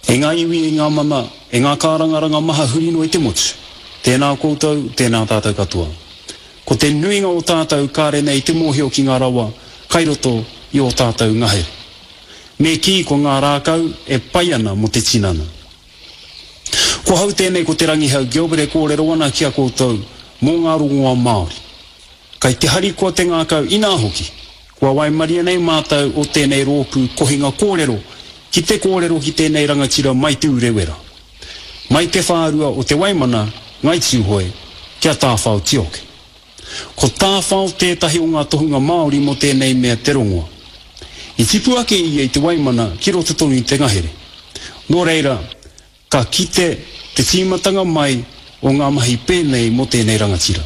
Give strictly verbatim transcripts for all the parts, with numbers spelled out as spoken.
E ngā iwi, e ngā mana, e ngā kārangaranga maha huri noa i te motu, tēnā koutou, tēnā tātou katoa. Ko te nuinga o tātou kāre nei te mōhio ki ngā rawa kai roto i ō tātou ngahere. Me kī ko ngā rākau e pai ana mō te tinana. Ko hau tēnei ko Te Rangihau Gilbert e kōrero ana ki a koutou mō ngā rongoa Māori. Kai te harikoa te ngākau inā hoki, kua waimaria nei mātou o tēnei rōpū kohinga kōrero ki te kōrero ki tēnei rangatira mai Te Urewera. Mai te whārua o Te Waimana, Ngai Tūhoe, kia Tāwhao Tioke. Ko Tāwhao tētahi o ngā tohunga Māori mō tēnei mea te rongoa. I tipu ake ia i Te Waimana ki roto tonu i te ngahere. Nō reira, ka kite te tīmatanga mai o ngā mahi pēnei mō tēnei rangatira.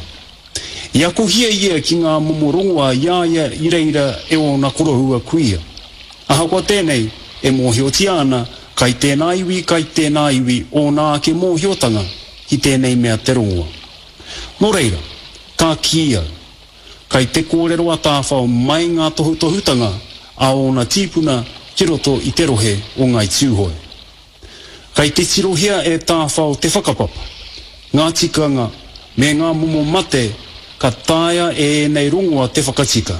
I akohia ia ki ngā momo rongoa i a ia i reira e ōna koroua kuia. Ahakoa tēnei, e mōhiotia ana kai tēnā iwi, kai tēnā iwi ōna ake mōhiotanga ki tēnei mea te rongoa. Nō reira, ka kī au, kai te kōrero a Tāwhao mai ngā tohutohutanga a ōna tīpuna ki roto i te rohe o Ngāi Tūhoe. Kai te tirohia e Tāwhao te whakapapa, ngā tikanga me ngā momo mate ka taea e ēnei rongoa te whakatika.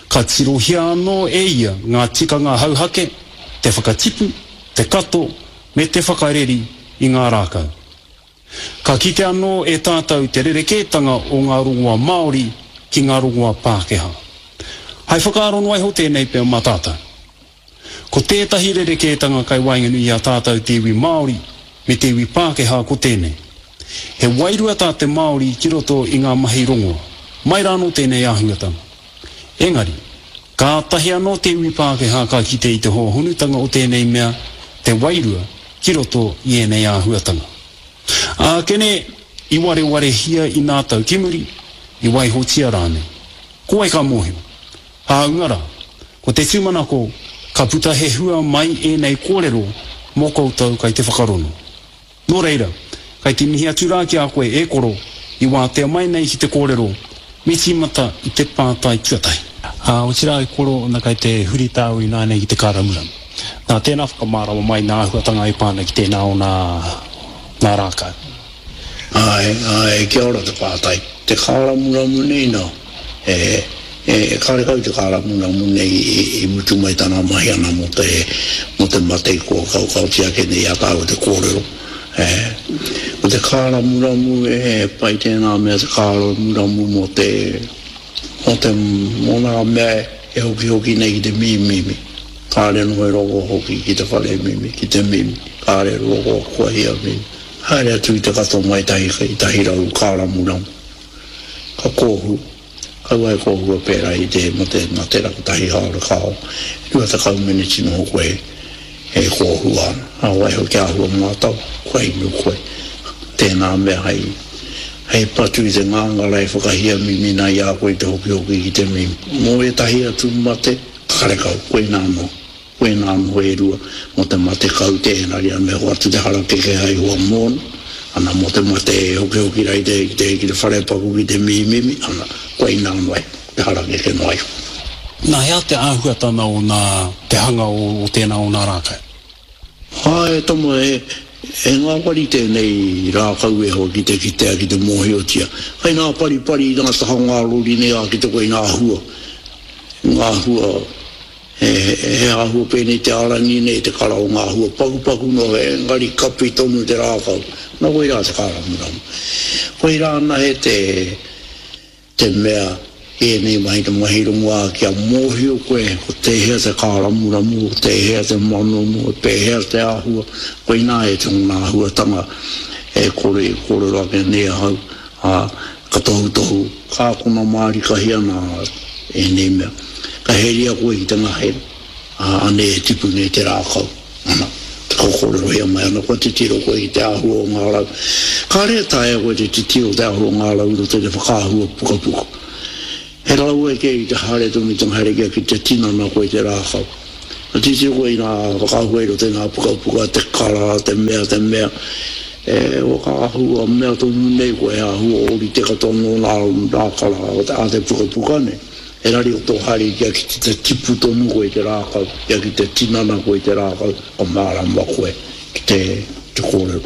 Ka tirohia anō e ia ngā tikanga hauhake, te whakatipu, te kato me te whakareri i ngā rākau. Ka kite anō e tātou te rerekētanga o ngā rongoa Māori ki ngā rongoa Pākehā. Hai whakaaro noa iho tēnei pea mā tātou. Ko tētahi rerekētanga kai waenganui i a tātou te iwi Māori me te iwi Pākehā ko tēnei. He wairua tā te Māori ki roto i ngā mahi rongoa. Mai rānō tēnei āhuatanga. Engari, kātahi anō te iwi Pākehā ka kite i te hōhonutanga o tēnei mea, te wairua, ki roto i ēnei āhuatanga. Ākene, i warewarehia i nā tau ki muri, i waihotia rānei. Ko wai ka mōhio? Hāunga rā, ko te tūmanako ka puta he hua mai ēnei kōrero mō koutou kai te whakarono. Nō reira, kai te mihi atu rā ki a koe e koro i wātea mai nei ki te kōrero, me tīmata i te pātai tuatahi. Ā, otirā e koro, na kai te huri tāu ināianei ki te kāramuramu. Nā, tēnā whakamārama mai nā āhuatanga e pā ana ki tēnā o nā, nā rākau. Āe, āe, kia ora te pātai. Te kāramuramu nei nā, e, e, karekau te kāramuramu nei i, i mutu mai tana mahi ana mō te, mō te mate kua kaokaotia ake nei i a tāua te kōrero. E, ko te kāramuramu, e, pai tēnā mea te kāramuramu mō te, mō te, mō ngā mea e hokihoki nei ki te mimimi. Kāre noho e rongo hoki ki te whare mimi, ki te mimi. Kāre rongo kua hia mimi. Haere atu i te kato mai tahi, tahi rau kāramuramu. Ka kōhu, kaua e kōhua pērā i te mō te matera kotahi haora kao, rua tekau meneti noho koe e kōhua ana. Nā waiho kia āhua mātau, kua inu koe. Tēnā mea hei, hei patu i te ngāngara e whakahiamimi i a koe i te hokihoki ki te mimi. Mō ētahi atu mate, karekau, koinā noa. Koinā anō e rua, mō te mate kaute engari me hoatu te harakeke hai hoa mōna, ana mō te mate e hokihoki rā i te, ki te, ki te wharepaku ki te mimimi, ana, koinā noa iho, te harakeke noa iho. Nā, he aha te āhuatanga o nā, te hanga o, o tēnā o nā rākau? Āe, e tama, e, e ngāwari tēnei rākau e hoa ki te kitea, ki te mōhiotia. Kai ngā paripari i ngā taha o ngā rori nei ā ki te koe ngā hua, ngā hua He, he āhua pēnei te ārangi nei, te kara o ngā hua pakupaku noa, engari kapi tonu te rākau. Nā koirā te kāramuramu. Koirā anahe te, te mea i ēnei mahi te mahi rongoā kia mōhio koe ko tēhea te kāramuramu, ko tēhea te manono, ko pēhea te āhua, koinā e tōna āhuatanga e kore e kōrero ake nei ahau, ā, ka tohutohu, ka akona mārikahia nā ēnei mea. Ka heria koe ki te ngahere, ā, anei e tipu nei te rākau. Ana, ka kōrerohia mai ana, kua titiro koe ki te āhua o ngā rau. Kāre e taea koe te titiro te āhua o ngā rau i roto i te whakaahua pukapuka. He rawe kē ki te haere tonu i te ngahere kia ki te tinana koe i te rākau. Ka titiro koe i ngā whakaahua i roto i ngā pukapuka, te kara, te mea, te mea, e whakaahua mea tonu nei koe, he āhua ōrite katoa nō ngā kara a te pukapuka nei. Engari o tō haere kia ki te tipu tonu koe i te rākau, kia ki te tinana koe i te rākau, ka mārama koe ki te, te kōrero.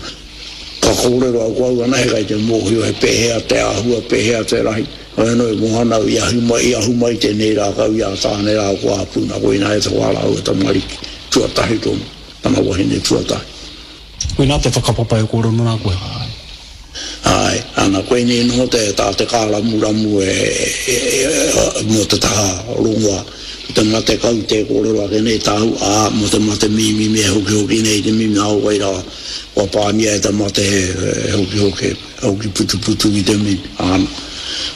Ka kōrero au ko au anahe kai te mōhio he pēhea te āhua, pēhea te rahi. Hoi anō e moana au i ahu mai, i ahu mai tēnei rākau i a Tāne rā ko Āpuna, koinā e te wā rāua tamariki, tuatahi tonu, tana wahine tuatahi. Koinā te whakapapa e kōrero nā koe. Āe, ana, koinei noho te, tā te kāramuramu e, e, e, mō te taha rongoā. Ko te mate kau tē kōrero ake nei tāu, ā, mō te mate mīmimi e hokihoki nei te mimi, ā, wai rā, kua pāngia e te mate he, he hokihoki, he hoki putuputu ki te mimi, āna.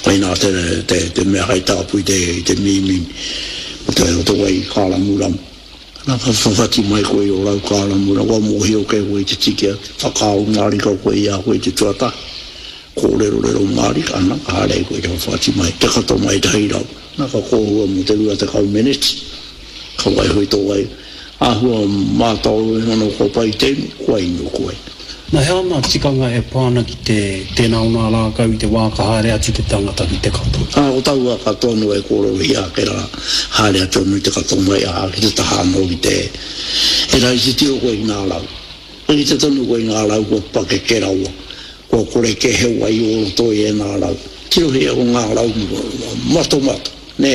Koinā te, te, te mea hei tāpui te, i te mīmimi, o te, o te wai kāramuramu. Ana ka whawhati mai koe i ō rau kāramura, kua mōhio kē koe i te tiki atu, whakaaro mārika koe i a koe i te tuatahi, kōrerorero mārika, ana ka haere ai koe i te whawhati mai, te kato mai tahi rau, ana ka kōhua mō te rua tekau meneti, ka waiho i tō wai, āhua mātaoro iho ana kua pai te inu, kua inu koe. Na he aha ngā tikanga e pā ana ki te tēnā o ngā rākau i te wā ka haere atu te tangata ki te kato? Ā, ko taua katoa anō e kōrerohia ake rā, haere atu anō i te kato mai, ā, ki te taha anō ki te, e rae titiro koe ki ngā rau. Ka kite tonu koe i ngā rau kua pakeke rawa, kua kore kē he wai o roto i ēnā rau. Tirohia ko ngā rau matomato, nē,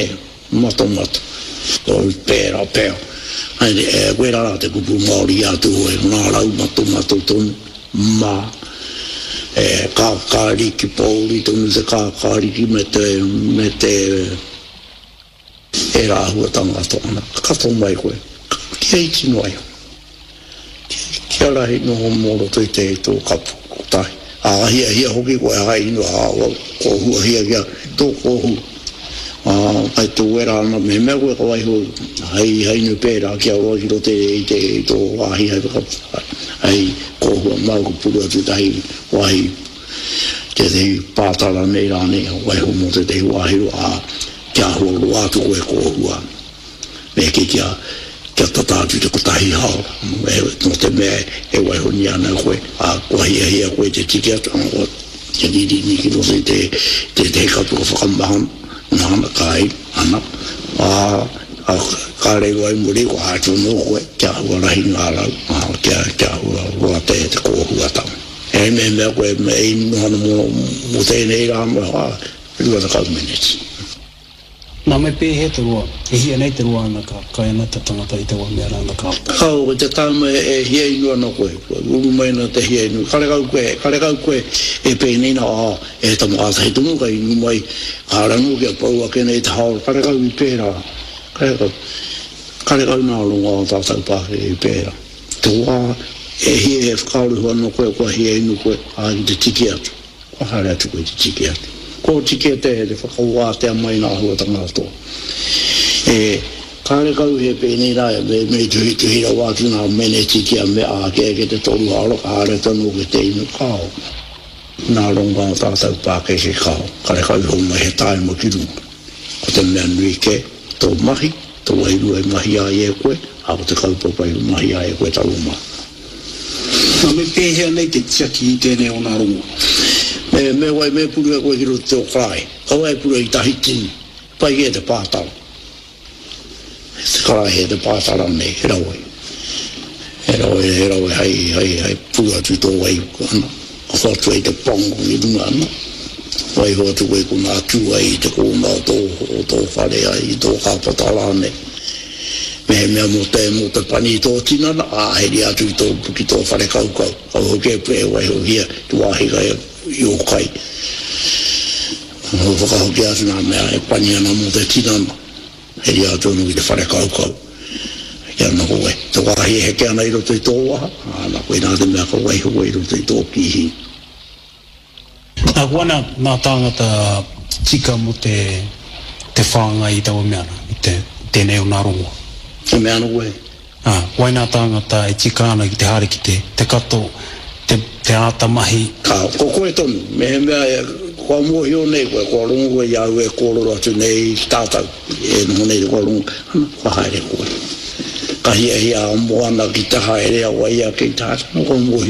matomato. Ko pērā pea. Haere, koirā rā te kupu Māori i a Tūhoe, ko ngā rau matomato tonu, mā, e, kākāriki, pōuri tonu te kākāriki me te, me te, ērā āhuatanga katoa. Ana, ka kato mai koe, kia iti noa iho. Kia rahi noho mō roto i te tō kapu kotahi. Ā, hiahia hoki koe hai inu, ā, kōhuahia kia tō kōhua. Ā, kai tō wera ana, mehemea koe ka waiho hei, hei inu pērā kia roa ki roto i te, i tō wāhi hai whaka, hei kōhua māu ka puru atu tētahi wāhi, tētahi pātara nei rānei, waiho mō tētahi wāhi roa, ā, kia āhua roa atu koe kōhua ana. Me kī kia, kia tata atu te kotahi haora, nō te mea e waihonia ana koe, ā, kua hiahia koe te tiki atu, ana kua te ririni ki roto i te, tētehi kapu ka whakamahana, mahana, ka inu, ana, ā, ā, ka rewa i muri, kua atu anō koe, kia āhua rahi ngā rau, ā, kia, kia āhua roa te, te kōhuatanga. Engari mehemea koe e inu ana mō, mō tēnei rā, ā, rua tekau meneti. Nā, me pēhea te roa? E hia nei te roa ana ka kai ana te tangata i taua mea rā ana ka pai. Kao, ko te taima e hia inu ana koe, kua uru mai ana te hia inu, karekau koe, karekau koe e pēnei nā, ā, e tama kātahi tonu ka inu mai, kāre anō kia pau ake nei te haora, karekau i pērā, karekau, karekau nā rongoā o tātou pākeke i pērā. Te wā e hia e whakaaro iho ana koe, kua hia inu koe, ā, ki te tiki atu. Kua haere atu koe te tiki atu. Kua oti kē te whakawātea mai ngā āhuatanga katoa. E, kārekau he pēnei rā, me, me tuhituhi rawa atu ngā meneti kia mea ake ake te toru haora ka haere atu anō ki te inu kāo. Nā rongo a tātou pākeke kāo, karekau iho mai he tāima ki runga. Ko te mea nui kē, tō mahi, tō wairua i mahia ai e koe, ā, ko te kaupapa i mahia ai e koe taua mahi. Na, me pēhea nei te tiaki i tēnei o nā rongo? Me, me wai, me puru e koe ki roto te o karaehe. Kaua e puru i tahi tini. Pai kē te pātara. Te karaehe, te pātara nei, he rawe. He rawe, he rawe hei, hei, hei puru atu i tō wai, ana, ka hoatu ai te pango ki runga, ana. Waiho atu koe konā tū ai i te kōna o tō, o tō whare ai, i tō kāpata rānei. Mehemea mō te, mō te pani i tō tinana, ā, heria atu ki tō, ki tō whare kaukau. Kau hoki e, e waihohia te wāhi kai i ō kai. Whakahokia atu ngā mea e pani ana mō te tinana, heria atu anō ki te whare kaukau. Kia noho e, te wāhi e heke ana i roto i tō waha, ā, nā koinā te mea ka waiho koe i roto i tō kīhī. Nā, ko ana ngā tāngata tika mō te, te whāngai i taua mea rā, i te, tēnei o nā rongoa. E mea ana koe? Ā, wai nā tāngata e tika ana ki te haere ki te, te kato, te, te āta mahi. Kā, ko koe tonu, mehemea e, kua mōhio nei koe, kua rongo koe i a au e kōrero atu nei ki tātou, e noho nei kua rongo, ana, kua haere koe. Ka hiahia a Moana ki te haere a wai ake i te haere, ana, kua mōhio.